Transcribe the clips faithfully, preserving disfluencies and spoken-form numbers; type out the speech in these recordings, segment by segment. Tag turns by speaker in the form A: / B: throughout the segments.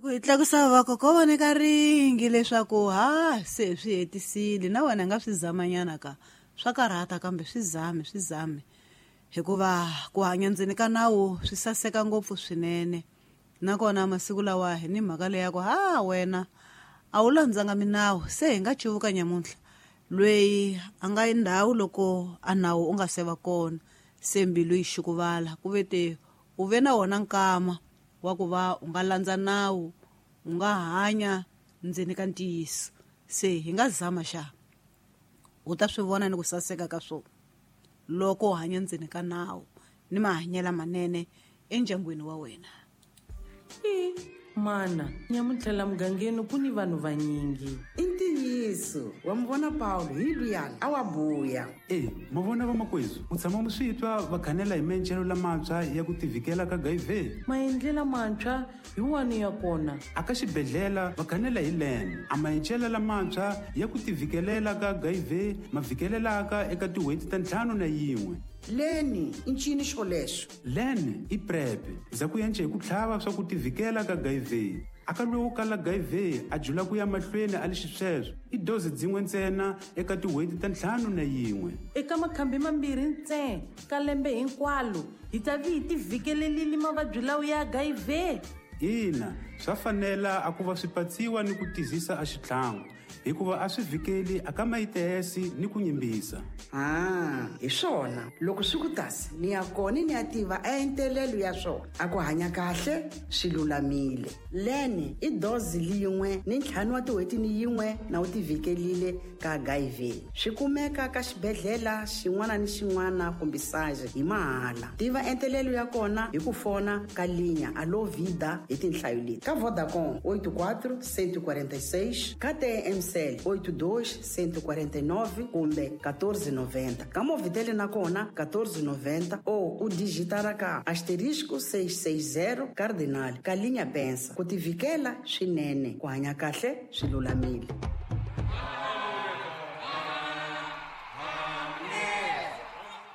A: Loko hi tlakusa vakokwana ka ringi leswaku ha se swi hetisile na wena nga swi zamanyana ka swa karhata kambe swi zame swi zame hikuva ku hanya ndzeni ka nawu swi saseka ngopfu swinene. Nakona masiku lawa hi ni mhaka leyi ya ku ha wena a wu landzanga minawu se hi nga cuvuka nyamuntlha lweyi a nga yi ndhawu loko a nawu u nga se va kona se mbilu yi xukuvala ku ve te u ve na wona nkama wa ku va u nga landza nawu u nga hanya ndzeni ka ntiyiso se hi nga zama xa u ta swi vona ni ku saseka ka swona loko u hanya ndzeni ka nawu ni mahanyelo manene endyangwini wa wena.
B: I mana nyamuntlha la mugangeni ku ni vanhu vanyingi.
C: I ntiyiso wa mi vona Paulo hi luyani a wa buya.
D: E ma vona vamakwezu u tshama mu swi twa va khanela hi maendlelo lamantshwa ya ku tivhikela ka H I V.
B: Maendlelo lamantshwa hi wani ya kona?
D: A ka xibedhlele va khanela hi len a maendlelo lamantshwa ya ku tivhikelela ka H I V ma vhikelelaka eka tin'hweti ta ntlhanu na yin'we.
C: Leni i ncini xolexo?
D: Len i PrEP za ku yence hi ku tlhava swa ku tivhikela ka H I V. A ka lowu kala H I V a jula ku ya mahlweni a li xisweswo i dozi dzin'we ntsena eka tin'hweti ta ntlhanu na yin'we.
B: Eka makhambi mambirhi ntsena ka lembe hinkwalo hi ta vi hi tivhikelelile mavabyi lawa ya H I V.
D: Ina, swa fanela a ku va swi patsiwa ni ku tizisa a xitlhangu hikuva a swi vhikeli a ka mayitesi ni ku nyimbisa.
C: Ah, hi swona loko swi ku tasi ni ya kona ni ya tiva a entelelo ya swona a ku hanya kahle swi lulamile. Leni i dozi lin'we ni ntlhanu wa tin'hweti ni yin'we na u tivhikelile ka H I V. Swi kumeka ka xibedhlele xin'wana ni xin'wana kumbe saje hi mahala. Tiva entelelo ya kona hi ku fona ka linya Alo Vida hi tinhlayo leti ka Vodacom oito quatro cento e quarenta e seis, ka T M C oito dois cento e quarenta e nove kumbe quatorze noventa. Ka Movitel na kona quatorze noventa ou u digitara ka asterisco seis seis zero cardinal ka linya pensa. Ku tivikela swinene ku hanya kahle swi lulamile.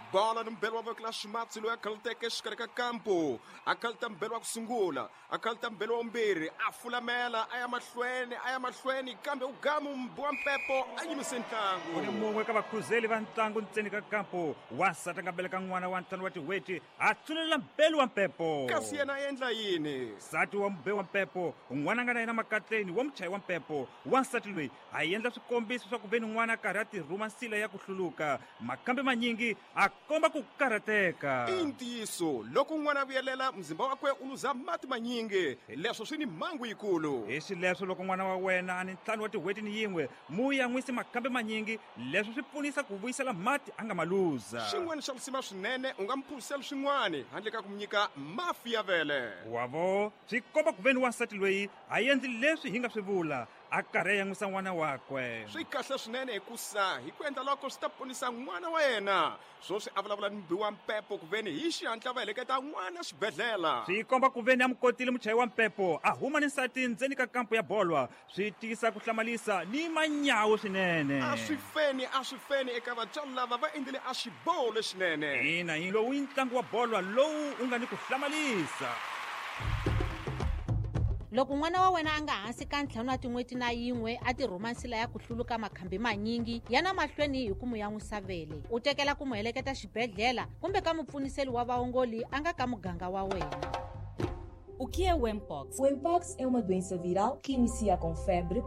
E: Bola ni mbelo wa voko la ximatsi loyi a khaluteke exikarhi ka kampo a khaluta mbelo wa ku sungula a khaluta mbelo wa vumbirhi a fulamela a ya mahlweni a ya mahlweni kambe u gamu mbi wa mpepo a yimise ntlangu.
F: Ku ni mun'we ka vakhuzeli va ntlangu ntseni ka kampo wansati a nga beleka n'wana wa ntlhanu wa tin'hweti a tsulela mbelo wa mpepo.
E: Kasi yena a endla yini?
F: Nsati wa mbe wa mpepo n'wana a nga na yena makatleni wa muchayi wa mpepo wansati loyi a endla swikombiso swa ku ve ni n'wana a karhi a tirhuma nsila ya ku hluluka makambe manyingi a komba ku karhateka.
E: I ntiyiso loko n'wana a vuyelela mzimba wakwe u luza mati manyingi leswo swi ni mhangu yikulu.
F: Hi xileswo loko n'wana wa wena a ni ntlhanu wa tin'hweti ni yin'we mu yan'wisi makambe manyingi leswo swi pfunisa ku vuyisela mati a nga ma luza.
E: Xin'wana xa risima swinene u nga mi phuzisela swin'wana handle ka ku mi nyika mafi ya vele.
F: Wavo swi komba ku ve ni wansati loyi a endli leswi hi nga swi vula a karhi a yan'wisa n'wana wakwe.
E: Swi kahle swinene hikusa hi ku endla loko swi ta ponisa n'wana wa yena. Swoswi a vulavula ni mbi wa mpepo ku veni hi xihatla va heleketa n'wana xibedhlele.
F: Swi komba ku veni a mukotile muchayi wa mpepo a huma ni nsati ndzeni ka kampo ya bolwa swi tiyisa ku hlamalisa ni manyawu swinene.
E: A swi feni a swi feni eka vatswari lava va endlile a xiboho lexinene.
F: Ina hi lowu i ntlangu wa bolwa lowu u nga ni ku hlamalisa.
G: Loko n'wana wa wena a nga hansi ka ntlhanu wa tin'hweti na yin'we a tirhuma nsila ya ku hluluka makhambi manyingi ya na mahlweni hi ku mu yan'wisa vele u tekela ku mu heleketa xibedhlele kumbe ka mupfuniseli wa vaongoli a nga ka muganga wa wena.
H: O que é o Mpox?
I: O Mpox é uma doença viral que inicia com febre,